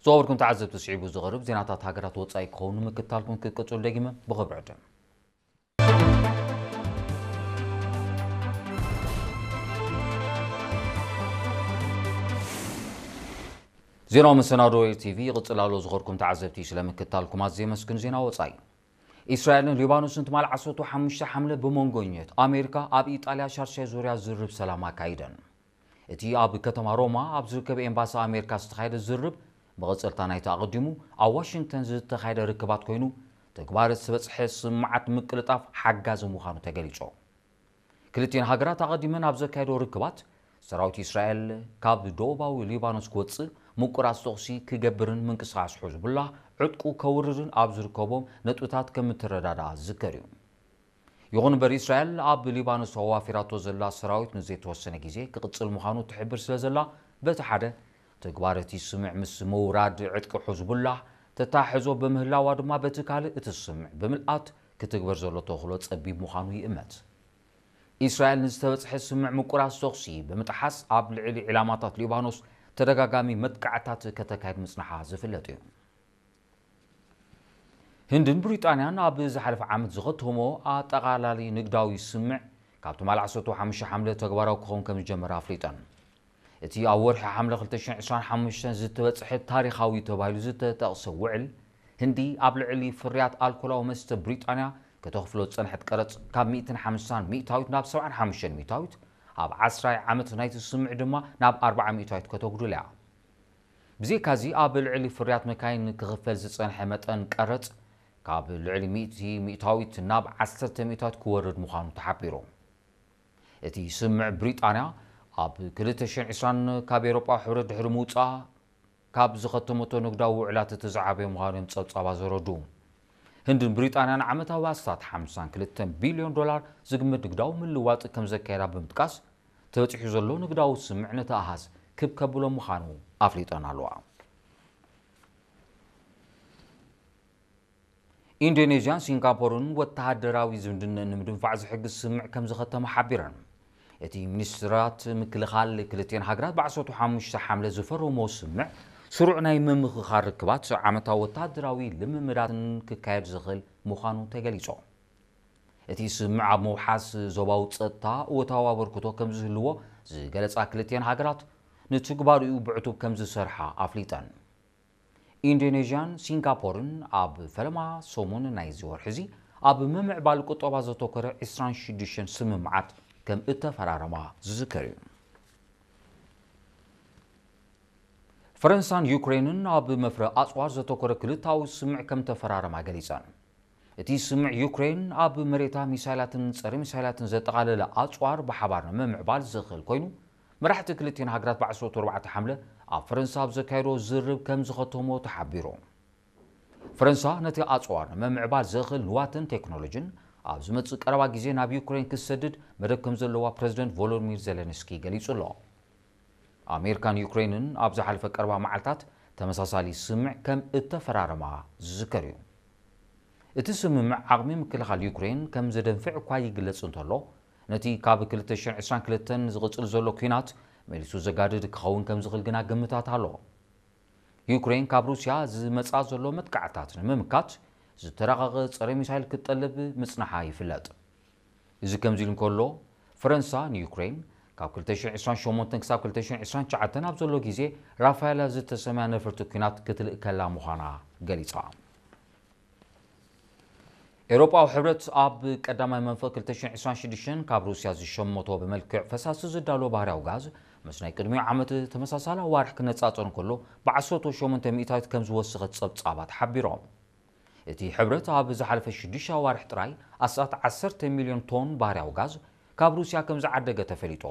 ዝኸበርኩም ተዓዘብቲ፣ ስዒቡ ዝቐርብ ዜናታት ሃገራት ወጻኢ ክኸውን ንምክታልኩም ክቅጽል ደጊመ ብኽብሪ ዕድም። ዜናዊ መሰናዶ ኤር ቲ ቪ ይቕጽል ኣሎ። ዝኸበርኩም ተዓዘብቲ፣ ስለ ምክታልኩም ኣዝየ የመስግን። ዜና ወጻኢ። ኢስራኤልን ሊባኖስን ትማል ዓሰርተ ሓሙሽተ ሓምለ ብመንጎኘት ኣሜሪካ ኣብ ኢጣልያ ሻርሻይ ዙርያ ዝርብ ሰላም ኣካይደን። እቲ ኣብ ከተማ ሮማ ኣብ ዝርከብ ኤምባሲ ኣሜሪካ ዝተኻየደ ዝርብ መቐጸልታ ናይቲ ኣቐዲሙ ኣብ ዋሽንግተን ዝተኻየደ ርክባት ኮይኑ፣ ተግባር ዝበጽሐ ስምዓት ምቅልጣፍ ሓጋዚ ምዃኑ ተገሊጹ። ክልቲኤን ሃገራት ኣቐዲመን ኣብ ዘካየዶ ርክባት፣ ሰራዊት ኢስራኤል ካብ ደቡባዊ ሊባኖስ ክወጽእ፣ ምቁራጽ ተኹሲ ክገብርን ምንቅስቓስ ሕዝቡላህ ዕጥቁ ከውርድን ኣብ ዝርከቦም ነጥብታት ከም እተረዳድኣ ዝዝከር እዩ። ይኹን እምበር፣ ኢስራኤል ኣብ ሊባኖስ ኣዋፊራቶ ዘላ ሰራዊት ንዘይተወሰነ ግዜ ክቕጽል ምዃኑ ትሕብር ስለ ዘላ፣ በቲ ሓደ፣ ተግባር እቲ ስምምዕ ምስ ምውራድ ዕጥቂ ሕዝቡላህ ተታሕዞ ብምህላዋ ድማ፣ በቲ ካልእ፣ እቲ ስምምዕ ብምልኣት ክትግበር ዘሎ ተኽእሎ ጸቢብ ምዃኑ ይእመት። ኢስራኤል ንዝተበጽሐ ስምምዕ ምቁራጽ ተኹሲ ብምጥሓስ፣ ኣብ ልዕሊ ዒላማታት ሊባኖስ ተደጋጋሚ መጥቃዕታት ከተካይድ ምጽንሓ ዝፍለጥ እዩ። ህንድን ብሪጣንያን ኣብ ዝሓለፈ ዓመት ዝኸተሞ ኣጠቓላሊ ንግዳዊ ስምምዕ፣ ካብ ትማል ዓሰርተ ሓሙሽተ ሓምለ ተግባራዊ ክኸውን ከም ዝጀመረ ኣፍሊጠን። እቲ ኣብ ወርሒ ሓምለ ክልተ ሽሕን ዕስራን ሓሙሽተን ዝተበጽሐ ታሪኻዊ ተባሂሉ ዝተጠቕሰ ውዕል፣ ህንዲ ኣብ ልዕሊ ፍርያት ኣልኮላዊ መስተ ብሪጣንያ ከተኽፍሎ ዝጸንሐት ቀረጽ ካብ ሚእትን ሓምሳን ሚእታዊት ናብ ሰብዓን ሓሙሽተን ሚእታዊት፣ ኣብ ዓስራይ ዓመት ናይቲ ስምምዕ ድማ ናብ ኣርብዓ ሚእታዊት ከተጉድል እያ። ብዘይካዚ፣ ኣብ ልዕሊ ፍርያት መካይን ክኽፈል ዝጸንሐ መጠን ቀረጽ ካብ ልዕሊ ሚእቲ ሚእታዊት ናብ ዓሰርተ ሚእታዊት ክወርድ ምዃኑ ተሓቢሩ። እቲ ስምምዕ፣ ብሪጣንያ ኣብ ክልተ ሽሕን ዕስራን ካብ ኤውሮጳ ሕብረት ድሕሪ ምውጻኣ፣ ካብ ዝኸተመቶ ንግዳዊ ውዕላት እቲ ዝዓበየ ምዃኑ እዮም ጸብጻባት ዘረድኡ። ህንድን ብሪጣንያን ዓመታዊ ኣስታት ሓምሳን ክልተን ቢልዮን ዶላር ዝግመት ንግዳዊ ምልዋጥ ከም ዘካየዳ ብምጥቃስ፣ ተበጺሑ ዘሎ ንግዳዊ ስምምዕ ነቲ ኣሃዝ ክብ ከብሎ ምዃኑ ኣፍሊጠን ኣለዋ። ኢንዶኔዥያን ሲንጋፖርን ወተሃደራዊ ዝምድነን ንምድንፋዕ ዝሕግዝ ስምምዕ ከም ዝኸተማ ሓቢረን። እቲ ሚኒስትራት ምክልኻል ክልቲኤን ሃገራት ብ ዓሰርተ ሓሙሽተ ሓምለ ዝፈረሞ ስምምዕ፣ ስሩዕ ናይ ምምኽኻር ርክባት፣ ዓመታዊ ወተሃደራዊ ልምምዳትን ክካየድ ዝኽእል ምዃኑ ተገሊጹ። እቲ ስምምዕ ኣብ ምውሓስ ዞባዊ ጸጥታ እወታዊ ኣበርክቶ ከም ዝህልዎ ዝገለጻ ክልቲኤን ሃገራት፣ ንትግባሪኡ ብዕቱብ ከም ዝሰርሓ ኣፍሊጠን። ኢንዶኔዥያን ሲንጋፖርን ኣብ ፈለማ ሰሙን ናይዚ ወርሒ እዚ ኣብ ምምዕባል ቁጠባ ዘተኮረ ዕስራን ሽዱሽተን ስምምዓት ከም እተፈራረማ ዝዝከር እዩ። ፈረንሳን ዩክሬንን ኣብ መፍረ ኣጽዋር ዘተኮረ ክልታዊ ስምምዕ ከም ተፈራረማ ገሊጸን። እቲ ስምምዕ፣ ዩክሬን ኣብ መሬታ ሚሳይላትን ጸረ ሚሳይላትን ዘጠቓለለ ኣጽዋር ብሓባር ንምምዕባል ዝኽእል ኮይኑ፣ መራሕቲ ክልቲኤን ሃገራት ብ ዓሰርተ ኣርባዕተ ሓምለ ኣብ ፈረንሳ ኣብ ዘካየዶ ዝርብ ከም ዝኸተሞ ተሓቢሩ። ፈረንሳ ነቲ ኣጽዋር ንምምዕባል ዘኽእል ንዋትን ቴክኖሎጂን ኣብ ዝመጽእ ቀረባ ግዜ ናብ ዩክሬን ክትሰድድ መደብ ከም ዘለዋ ፕረዚደንት ቮሎዲሚር ዜለንስኪ ገሊጹ ኣሎ። ኣሜሪካን ዩክሬንን ኣብ ዝሓለፈ ቀረባ መዓልታት ተመሳሳሊ ስምምዕ ከም እተፈራረማ ዝዝከር እዩ። እቲ ስምምዕ ዓቕሚ ምክልኻል ዩክሬን ከም ዘደንፍዕ እኳ ይግለጽ እንተሎ፣ ነቲ ካብ ክልተ ሽሕን ዕስራን ክልተን ዝቕጽል ዘሎ ኲናት መሊሱ ዘጋድድ ክኸውን ከም ዝኽእል ግና ግምታት ኣሎ። ዩክሬን ካብ ሩስያ ዝመጽኣ ዘሎ መጥቃዕታት ንምምካት ዝተራቐቐ ጸረ ሚሳይል ክትጠልብ ምጽንሓ ይፍለጥ። እዚ ከምዚ ኢሉ እንከሎ፣ ፈረንሳ ንዩክሬን ካብ ክልተ ሽሕን ዕስራን ሸሞንተን ክሳብ ክልተ ሽሕን ዕስራን ትሽዓተን ኣብ ዘሎ ግዜ ራፋኤላ ዝተሰምያ ነፈርቲ ኲናት ክትልእከላ ምዃና ገሊጻ። ኤውሮጳዊ ሕብረት ኣብ ቀዳማይ መንፈቕ ክልተ ሽሕን ዕስራን ሽዱሽተን ካብ ሩስያ ዝሸመቶ ብመልክዕ ፈሳሲ ዝዳሎ ባህርያዊ ጋዝ፣ ምስ ናይ ቅድሚኡ ዓመት ተመሳሳሊ ኣዋርሕ ክነጻጸር እንከሎ፣ ብዓሰርተ ሸሞንተ ሚእታዊት ከም ዝወሰኸት ጸብጻባት ሓቢሮም። እቲ ሕብረት ኣብ ዝሓለፈ ሽዱሽተ ኣዋርሕ ጥራይ ኣስታት ዓሰርተ ሚልዮን ቶን ባህርያዊ ጋዝ ካብ ሩስያ ከም ዝዓደገ ተፈሊጡ።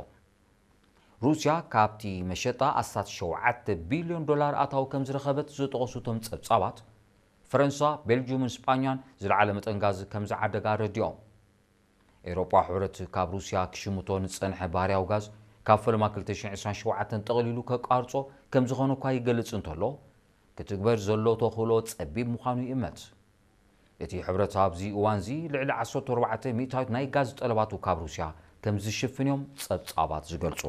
ሩስያ ካብቲ መሸጣ ኣስታት ሸውዓተ ቢልዮን ዶላር ኣታዊ ከም ዝረኸበት ዝጠቐሱ እቶም ጸብጻባት፣ ፈረንሳ፣ ቤልጅዩምን ስጳኛን ዝለዓለ መጠን ጋዝ ከም ዝዓደጋ ኣረዲኦም። ኤውሮጳ ሕብረት ካብ ሩስያ ክሽምቶ ንጸንሐ ባህርያዊ ጋዝ ካብ ፈለማ ክልተ ሽሕን ዕስራን ሸውዓተን ጠቕሊሉ ከቋርጾ ከም ዝኾነ እኳ ይገልጽ እንተሎ፣ ክትግበር ዘሎ ተኽእሎ ጸቢብ ምዃኑ ይእመት። እቲ ሕብረት ኣብዚ እዋንዚ ልዕሊ ዓሰርተ ኣርባዕተ ሚእታዊት ናይ ጋዝ ጠለባቱ ካብ ሩስያ ከም ዝሽፍን እዮም ጸብጻባት ዝገልጹ።